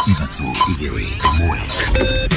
3 2 1.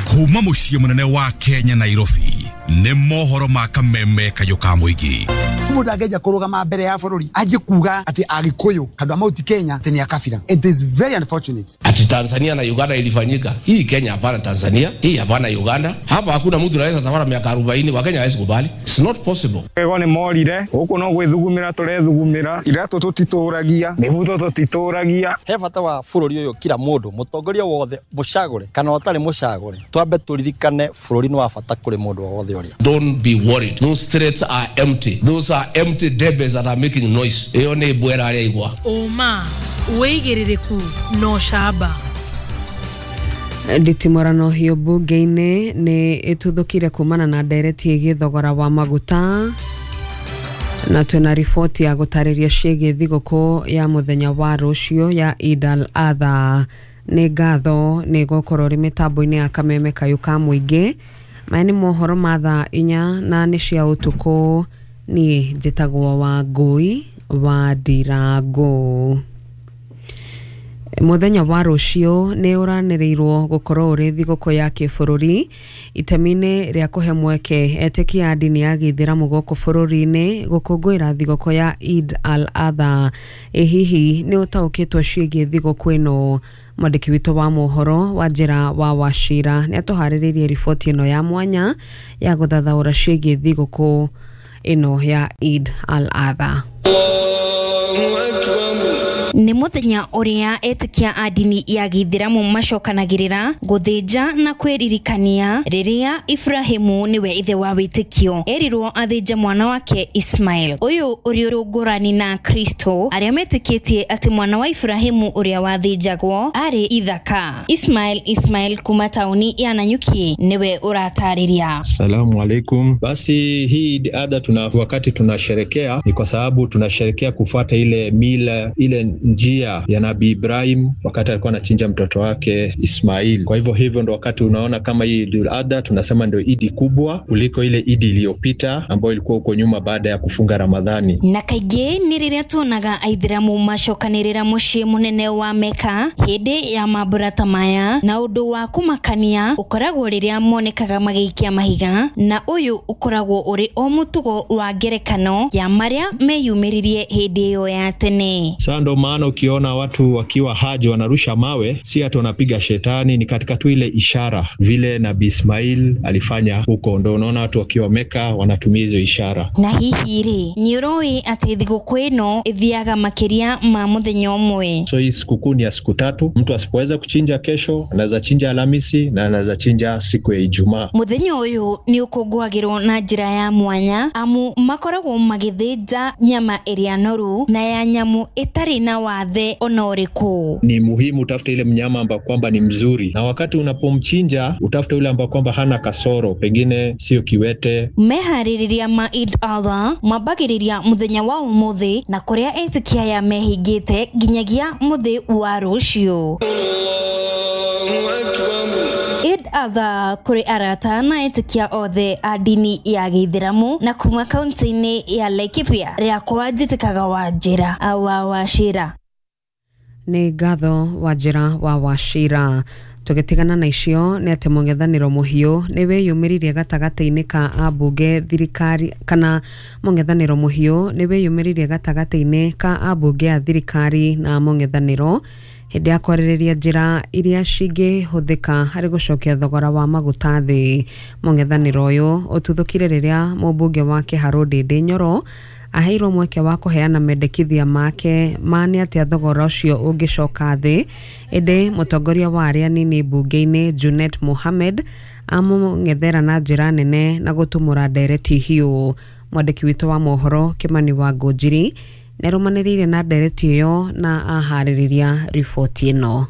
Kuma muciĩ mũnene wa Kenya Nairobi nĩ mohoro ma kameme kayũ ka mũingĩ. Mũndũ angĩanjia kũrũgama mbere ya bũrũri anjie kuga atĩ Agĩkũyũ handũ a Mount Kenya atĩ nĩ a kabira. It is very unfortunate. Ati Tanzania na Uganda ilifanyika. Hii Kenya hapana Tanzania, hii hapana Uganda. Hapa hakuna mtu anaweza tawala miaka 40 wa Kenya hawezi kubali. It's not possible. Ego nĩ morire, gũkũ no gwĩthugumĩra tũrethugumĩra, iratũ tũtitũragia, mĩbuto tũtitũragia. He bata wa bũrũri ũyũ kila mũndũ, mũtongoria wothe mũcagũre kana ũtarĩ mũcagũre, twambe tũririkane bũrũri nĩ wa bata kũrĩ mũndũ o wothe ũrĩa. Don't be worried. Those threats are empty. Those are empty debes that are making noise. Iyo nĩ mbwera arĩa igwa. Ũma, wĩigĩrĩrĩku no camba. Nditimũrano hiũ mbunge-inĩ nĩ ĩtuthũkire kumana na ndereti ĩgiĩ thogora wa maguta, na twĩna riboti ya gũtarĩria ciĩgiĩ thigũkũ ya mũthenya wa rũciũ ya Eid al-Adha. Nĩ ngatho nĩ gũkorwo rĩ mĩtambo-inĩ ya kameme kayũ ka mũingĩ. Maya nĩ mohoro ma thaa 4 na nĩ cia ũtukũ. Niĩ njĩtagwo Wangũi wa Ndirango. Mũthenya wa rũciũ nĩ ũranĩrĩirwo gũkorwo ũrĩ thigũkũ ya kĩbũrũri itemi-inĩ rĩa kũhe mweke etĩkia a ndini ya gĩithĩramu gũkũ bũrũri-inĩ gũkũngũĩra thigũkũ ya Eid al-Adha. Ĩ hihi nĩ ũtaũkĩtwo ciĩgiĩ thigũkũ ĩno? Mwandĩki witũ wa mohoro wa njĩra wa Wachira nĩ atũharĩrĩirie riboti ĩno ya mwanya ya gũthathaũra ciĩgiĩ thigũkũ ĩno ya Eid al-Adha. Nĩ mũthenya ũrĩa etĩkia a ndini ya gĩithĩramu macokanagĩrĩra gũthĩnja na kwĩririkania rĩrĩa Ibrahimu nĩwe ithe wa wĩtĩkio erirwo athĩnje mwana wake Ismail. Ũyũ ũrĩ ũrũngũrani na Kristo arĩa metĩkĩtie atĩ mwana wa Ibrahimu ũrĩa wathĩnjagwo arĩ Ithaka. Ismail kuma tauni ya Nanyuki nĩwe ũratarĩria. Salamu alaikum. Basi hii Eid Adha wakati tunasherekea ni kwa sababu tunasherekea kufuata ile mila, ile njia ya Nabii Ibrahim wakati alikuwa anachinja mtoto wake Ismail. Kwa hivyo ndo wakati unaona kama hii Eid al-Adha tunasema ndio Idi kubwa kuliko ile Idi iliyopita ambayo ilikuwa huko nyuma baada ya kufunga Ramadhani. Na kaingĩ nĩ rĩrĩa tuonaga aithĩramu macokanĩrĩra mũciĩ mũnene wa Meka hĩndĩ ya mambura ta maya, na ũndũ wa kũmakania ũkoragwo rĩrĩa monekaga magĩikia mahiga, na ũyũ ũkoragwo ũrĩ o mũtugo wa ngerekano ya marĩa meyumĩririe hĩndĩ ĩyo ya tene. Sasa ndo maana ukiona watu wakiwa haji wanarusha mawe, si ati wanapiga shetani, ni katika tu ile ishara vile Nabii Ismail alifanya huko, ndo unaona watu wakiwa Meka wanatumia hizo ishara. Na hihi rĩ, nĩ ũrũĩ atĩ thigũkũ ĩno ĩthiaga makĩria ma mũthenya ũmwe? So hii sikukuu ni ya siku 3. Mtu asipoweza kuchinja kesho, anaweza chinja Alhamisi na anaweza chinja siku ya Ijumaa. Mũthenya ũyũ nĩ ũkũngũagĩrwo na njĩra ya mwanya amu makoragwo magĩthĩnja nyama ĩrĩa noru na ya nyamũ ĩtarĩ na wathe ona ũrĩkũ. Ni muhimu utafute ile mnyama ambao kwamba ni mzuri, na wakati unapomchinja utafute yule ambao kwamba hana kasoro, pengine sio kiwete. Meharĩrĩria ma Eid Adha mambagĩrĩria mũthenya wa ũmũthĩ na kũrĩa etĩkia ya mehingĩte nginyagia mũthĩ wa rũciũ. Eid Adha kũrĩ arata na etĩkia othe a ndini ya gĩithĩramu na kuma kaunti-inĩ ya Laikipia rĩakwa njĩtĩkaga Wanjĩra wa Wachira. Nĩ ngatho Wanjĩra wa Wachira. Tũgĩtigana na icio nĩ atĩ mũng'ethanĩro mũhiũ nĩ wĩyumĩririe gatagatĩ-inĩ ka ambunge thirikari kana mũng'ethanĩro mũhiũ nĩ wĩyumĩririe gatagatĩ-inĩ ka ambunge a thirikari na mũng'ethanĩro hĩndĩ ya kwarĩrĩria njĩra iria cingĩhũthĩka harĩ gũcokia thogora wa maguta thĩ. Mũng'ethanĩro ũyũ ũtuthũkire rĩrĩa mũmbunge wa Kĩharũ Ndĩndĩ Nyoro aheirwo mweke wa kũheana mendekithia make ma nĩ atĩa thogora ũcio ũngĩcoka thĩ, ĩndĩ mũtongoria wa arĩa anini mbunge-inĩ Junet Mohamed amũng'ethera na njĩra nene na gũtumũra ndereti hiũ. Mwandĩki witũ wa mohoro Kĩmani wa Ngũnjiri nĩarũmanĩrĩire na ndereti ĩyo na aharĩrĩria riboti ĩno.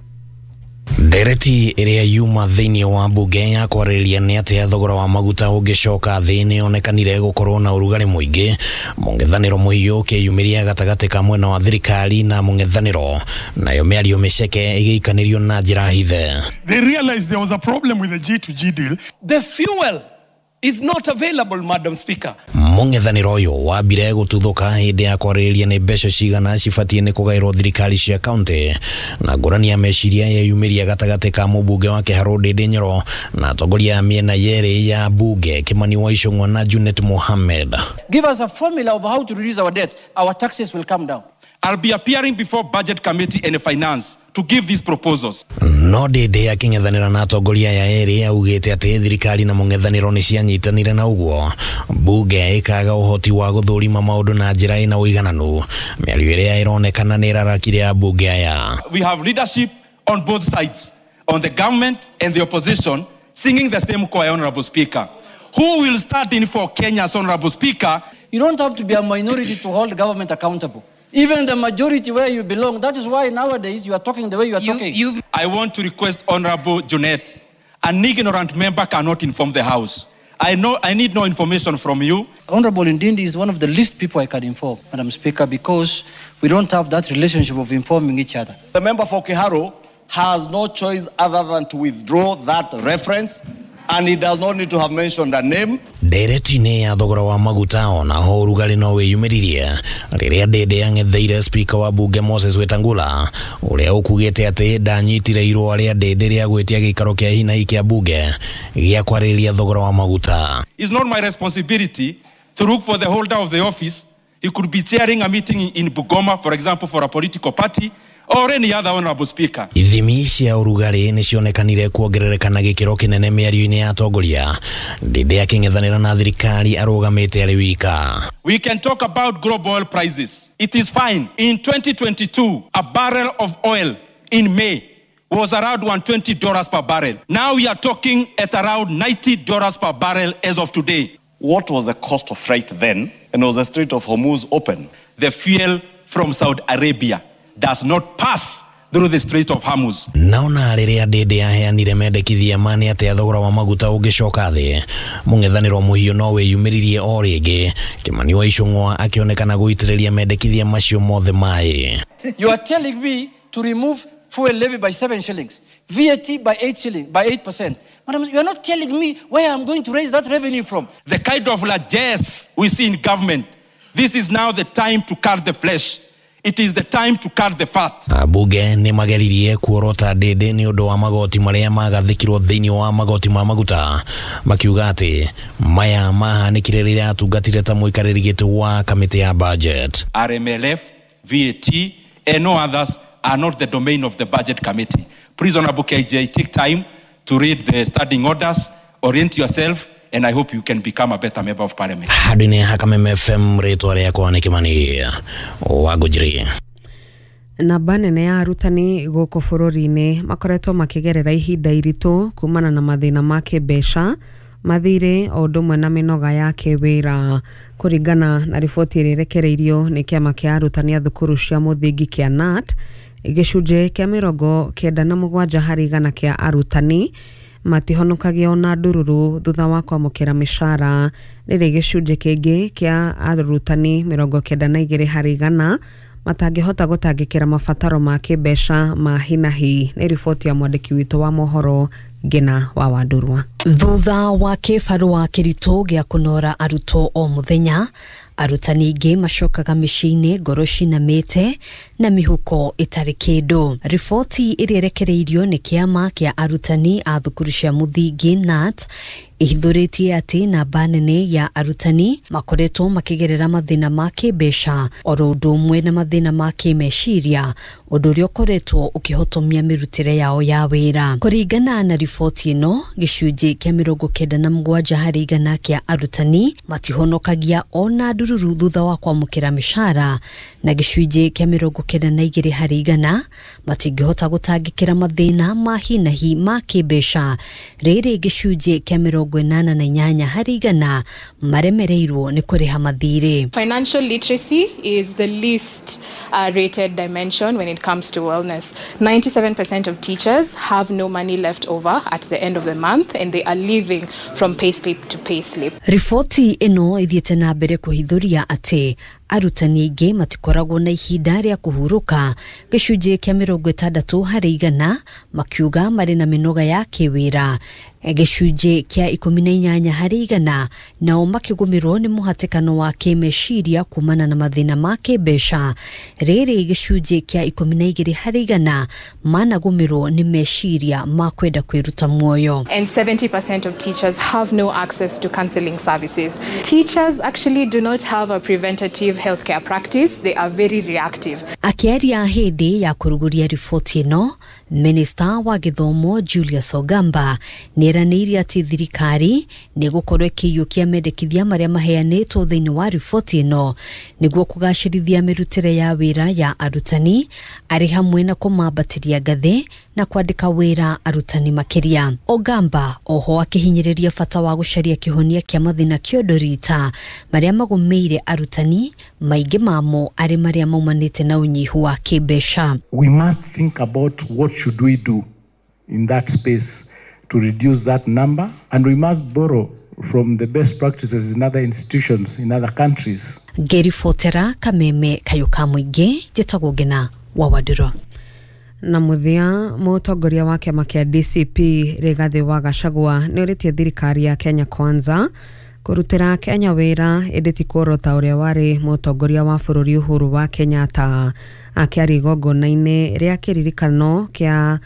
Ndereti ĩrĩa yuma thĩinĩ wa mbunge ya kwarĩrĩria nĩ atĩa thogora wa maguta ũngĩcoka thĩ nĩyonekanire gũkorwo na ũrugarĩ mũingĩ. Mũng'ethanĩro mũhiũ ũkĩyumĩria gatagatĩ ka mwena wa thirikari na mũng'ethanĩro, nayo mĩario mĩceke ĩgĩikanĩrio na njĩra hithe. They realized there was a problem with the G2G deal. The fuel is not available, Madam Speaker. Mũng'ethanĩro ũyũ wambire gũtuthũka hĩndĩ ya kwarĩrĩria nĩ mbeca cigana cibatiĩ nĩ kũgaĩrwo thirikari cia kaunti, na ngũrani ya meciria yeyumĩria gatagatĩ ka mũmbunge wa Kĩharũ Ndĩndĩ Nyoro na atongoria a mĩena yerĩ ya mbunge Kimani wa Ichung'wa na Junet Mohammed. Give us a formula of how to reduce our debt. Our taxes will come down. I'll be appearing before Budget Committee and Finance to give these proposals. No Ndĩndĩ akĩng'ethanĩra na atongoria aya erĩ augĩte atĩ thirikari na mũng'ethanĩro nĩ cianyitanire na ũguo mbunge ĩkaga ũhoti wa gũthũrima maũndũ na njĩra ĩna ũigananu, mĩario ĩrĩa ĩronekana nĩ ĩrarakire ambunge aya. We have leadership on both sides, on the government and the opposition, singing the same choir, Honorable Speaker. Who will stand in for Kenya's Honorable Speaker? You don't have to be a minority to hold government accountable. Even the majority where you belong. That is why nowadays you are talking the way you are talking. I want to request Honorable Junet, an ignorant member cannot inform the House. I know I need no information from you. Honorable Ndindi is one of the least people I can inform, Madam Speaker, because we don't have that relationship of informing each other. The member for Kiharu has no choice other than to withdraw that reference, and he does not need to have mentioned a name. Ndereti-inĩ ya thogora wa maguta ona ho ũrugarĩ no wĩyumĩririe rĩrĩa Ndĩndĩ ang'etheire spika wa bunge Moses Wetangula ũrĩa ũkugĩte atĩ ndanyitire irũa rĩa Ndĩndĩ rĩa gwĩtia gĩikaro kĩa hi na hi kĩa bunge gĩa kwarĩrĩria thogora wa maguta. It's not my responsibility to look for the holder of the office. He could be chairing a meeting in Bugoma, for example, for a political party or any other, Honorable Speaker. Ithimi cia ũrugarĩ nĩ cionekanire kuongerereka na gĩkĩro kĩnene mĩario-inĩ ya atongoria. Ndĩndĩ akĩng'ethanĩra na thirikari arũgamĩte arĩ wika. We can talk about global oil prices. It is fine. In 2022, a barrel of oil in May was around $120 per barrel. Now we are talking at around $90 per barrel as of today. What was the cost of freight then? And was the Strait of Hormuz open? The fuel from Saudi Arabia does not pass through the Strait of Hormuz. Naona rĩrĩa Ndĩndĩ aheanire mendekithia ma nĩ atĩa thogora wa maguta ũngĩcoka thĩ, mũng'ethanĩro mũhiũ no wĩyumĩririe o rĩngĩ, Kimani wa Ichung'wa akĩonekana gũitĩrĩria mendekithia macio mothe maĩ. You are telling me to remove fuel levy by 7 shillings, VAT by 8 shillings, by 8%. Madam, you are not telling me where I'm going to raise that revenue from. The kind of largesse we see in government, this is now the time to cut the flesh. It is the time to cut the fat. Ambunge nĩ mageririe kuorota Ndĩndĩ nĩ ũndũ wa magoti marĩa magathĩkirwo thĩinĩ wa magoti ma maguta, makiuga atĩ maya mahanĩkire rĩrĩa atungatire ta mũikarĩri gĩtĩ wa kamĩtĩ ya budget. RMLF, VAT and no others are not the domain of the budget committee. Please, Honorable KJ, take time to read the standing orders, orient yourself, and I hope you can become a better member of parliament. Handũ-inĩ ha Kameme FM, rĩtwa rĩakwa nĩ Kimani wa Ngũnjiri. Namba nene ya arutani gũkũ bũrũri-inĩ makoretwo makĩgerera ihinda iritũ kumana na mathĩna ma kĩmbeca, mathirĩ o ũndũ ũmwe na mĩnoga ya kĩwĩra. Kũringana na riboti ĩrĩa ĩrekereirio nĩ kĩama kĩa arutani a thukuru cia mũthingi kĩa KNUT, gĩcunjĩ kĩa 97 harĩ igana kĩa arutani matihonokagia ona ndururu thutha wa kwamũkĩra mĩcara, rĩrĩ gĩcunjĩ kĩngĩ kĩa arutani 92 harĩ igana matangĩhota gũtangĩkĩra mabataro ma kĩmbeca ma hi na hi. Nĩ riboti ya mwandĩki witũ wa mohoro Ngina wa Wandurwa. Thutha wa kĩbarũa kĩritũ gĩa kũnora arutwo o mũthenya, arutani aingĩ macokaga mĩciĩ-inĩ ngoro cinamĩte na mĩhuko ĩtarĩ kĩndũ. Riboti ĩrĩa ĩrekereirio nĩ kĩama kĩa arutani a thukuru cia mũthingi KNUT ĩhithũrĩtie atĩ namba nene ya arutani makoretwo makĩgerera mathĩna ma kĩmbeca oro ũndũ ũmwe na mathĩna ma kĩmeciria, ũndũ ũrĩa ũkoretwo ũkĩhotomia mĩrutĩre yao ya wĩra. Kũringana na riboti ĩno, gĩcunjĩ kĩa 97 harĩ igana kĩa arutani matihonokagia ona ndururu thutha wa kwamũkĩra mĩcara, na gĩcunjĩ kĩa 92 harĩ igana matingĩhota gũtangĩkĩra mathĩna ma hi na hi ma kĩmbeca, rĩrĩ gĩcunjĩ kĩa 88 harĩ igana maremereirwo nĩ kũrĩha mathirĩ. Financial literacy is the least rated dimension when it comes to wellness. 97% of teachers have no money left over at the end of the month, and they are living from payslip to payslip. Riboti ĩno ĩthiĩte na mbere kũhithũria atĩ Arutani aingĩ matikoragwo na ihinda rĩa kũhurũka, gĩcunjĩ kĩa 60% makiuga marĩ na mĩnoga ya kĩwĩra, gĩcunjĩ kĩa 18% nao makĩgũmĩrwo nĩ mũhatĩkano wa kĩmeciria kumana na mathĩna ma kĩmbeca. Rĩrĩ gĩcunjĩ kĩa 12% managũmĩrwo nĩ meciria ma kwenda kwĩruta muoyo. And 70% of teachers have no access to counseling services. Teachers actually do not have a preventative healthcare practice. They are very reactive. Akĩaria hĩndĩ ya kũrugũria riboti ĩno, Minista wa gĩthomo Julius Ogamba nĩeranĩire atĩ thirikari nĩ ĩgũkorwo ĩkĩiyũkia mendekithia marĩa maheanĩtwo thĩinĩ wa riboti ĩno nĩguo kũgacĩrithia mĩrutĩre ya wĩra ya arutani, arĩ hamwe na kũmambatĩria ngathĩ na kwandĩka wĩra arutani makĩria. Ogamba oho akĩhinyĩrĩria bata wa gũcaria kĩhonia kĩa mathĩna kĩondorita marĩa magũmĩire arutani, maingĩ mamo arĩ marĩa maumanĩte na ũnyihu wa kĩmbeca. We must think about what should we do in that space to reduce that number, and we must borrow from the best practices in other institutions in other countries. Ngĩribotera Kameme Kayũ ka Mũingĩ, njĩtagwo Ngina wa Wandũrũ. Na mũthia, mũtongoria wa kĩama kĩa DCP Rigathĩ wa Gachagua nĩorĩtie thirikari ya Kenya Kwanza kũrutĩra Kenya wĩra ĩndĩ ti kuorota ũrĩa warĩ mũtongoria wa bũrũri Uhuru wa Kenyatta. Akĩaria igongona-inĩ rĩa kĩririkano kĩa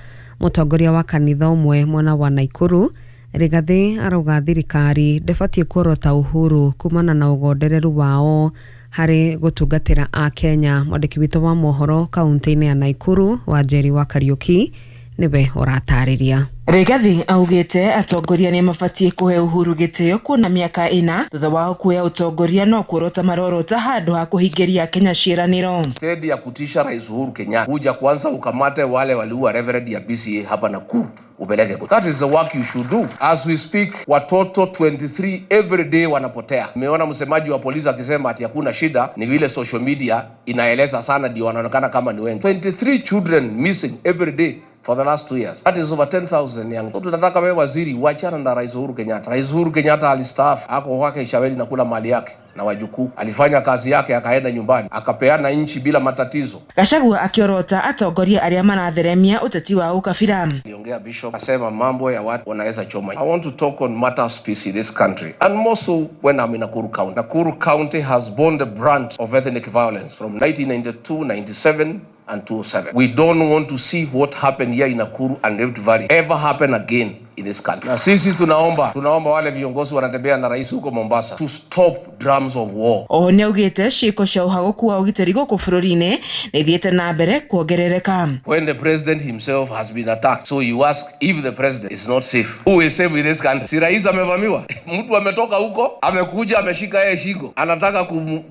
mũtongoria wa kanitha ũmwe mwena wa Naikuru, Rigathĩ arauga thirikari ndĩbatiĩ kuorota Uhuru kumana na ũgondereru wao harĩ gũtungatĩra a Kenya. Mwandĩki witũ wa mohoro kaunti-inĩ ya Naikuru Wanjeri wa Kariuki nĩwe ũratarĩria. Rigathi augĩte atongoria nĩ mabatiĩ kũhe Uhuru gĩtĩo kuona mĩaka 4 thutha wao kuoya ũtongoria no kuorota marorota handũ ha kũhingĩria Kenya ciĩranĩro. Stendi ya kutisha Rais Uhuru Kenyatta, kuja kwanza ukamate wale waliua reverend ya BCA hapa Nakuru upeleke. That is the work you should do. As we speak, watoto 23 every day wanapotea. Nimeona msemaji wa polisi akisema ati hakuna shida, ni vile social media inaeleza sana ndio wanaonekana kama ni wengi. 23 children missing every day for the last 2 years. That is over 10,000 young. Tunataka wewe waziri uachana na Rais Uhuru Kenyatta. Rais Uhuru Kenyatta alistaafu, ako kwake Ishaweli na kula mali yake na wajukuu. Alifanya kazi yake akaenda nyumbani, akapeana nchi bila matatizo. Gachagua akiorota atongoria arĩa maratheremia uteti wa ukabira. Aliongea bishop akasema mambo ya watu wanaweza choma. I want to talk on matters peace in this country, and more so when I'm in Nakuru County. Nakuru County has borne the brunt of ethnic violence from 1992, 97 and 2007. We don't want to see what happened here in Nakuru and Rift Valley ever happen again in this country. Na sisi tunaomba wale viongozi wanatembea na rais huko Mombasa to stop drums of war. Oho nĩaugĩte ciĩko cia ũhagũku wa ũgitĩri gũkũ bũrũri-inĩ nĩ ithiĩte na mbere kuongerereka. When the president himself has been attacked, so you ask if the president is not safe, who is safe in this country? Si rais amevamiwa? Mtu ametoka huko, amekuja ameshika yeye shingo, anataka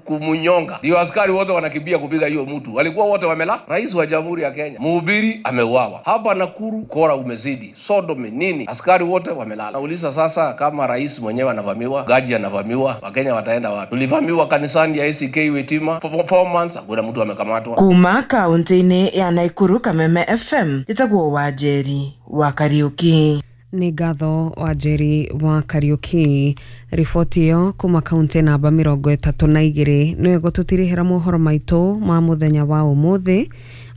kumunyonga. Ndio askari wote wanakimbia kupiga hiyo mtu. Walikuwa wote wamela. Rais wa Jamhuri ya Kenya, mhubiri ameuawa. Hapa Nakuru kora umezidi, sodomy nini? Askari wote wamelala. Nauliza sasa, kama rais mwenyewe anavamiwa, gaji anavamiwa, Wakenya wataenda wapi? Tulivamiwa kanisani ya ACK Wetima for 4 months, hakuna mtu amekamatwa. Kuma kaunti-inĩ ya Nakuru, Kameme FM, njĩtagwo Wanjeri wa Kariuki. Nĩ ngatho Wanjeri wa Kariuki. Riboti ĩyo kuma kaunti namba 32 nĩyo ĩgũtũtirihĩra mohoro maitũ ma mũthenya wa ũmũthĩ.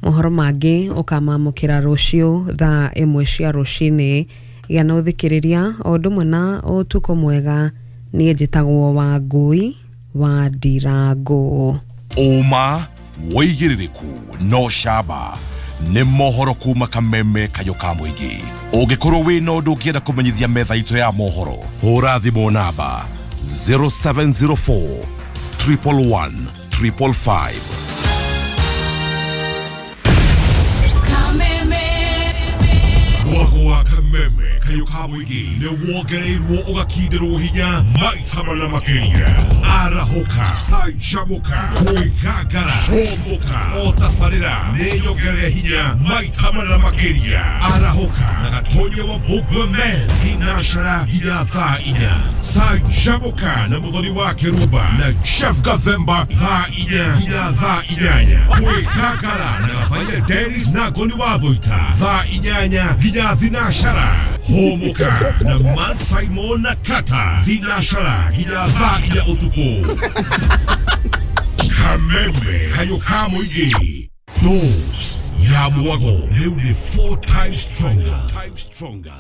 Mohoro mangĩ ũkamamũkĩra rũciũ thaa 1 cia rũcinĩ. Gĩa na ũthikĩrĩria o ũndũ ũmwe na ũtukũ mwega. Niĩ njĩtagwo Wangũi wa Ndirangũ. Ũma wĩigĩrĩrĩku no camba nĩ mohoro kuma Kameme Kayũ ka Mũingĩ. Ũngĩkorwo wĩna ũndũ ũngĩenda kũmenyithia metha itũ ya mohoro, hũra thimũ namba 0704 111 555. Mwago wa Kameme Kayũ ka Mũingĩ nĩ wongereirwo ũgakindĩrwo hinya maita mana makĩria. Arahũka, canjamũka, kwĩgangara, hũmũka, otabarĩra nĩ nyongerere hinya maita mana makĩria. Arahũka na Gatonya wa Mbũgua Men thinashara nginya thaa 4. Canjamũka na Mũthoni wa Kĩrumba na Chef Gathemba thaa 4 nginya thaa 8. Kwĩgangara na Gathaiya Dennis na Ngoni wa Thũita thaa 8 nginya thinashara. Hũmũka na Man Simon na Kata thinashara nginya thaa 4 ũtukũ. Kameme kayũ ka mũingĩ. Dose ya mwago rĩu nĩ 4 times stronger.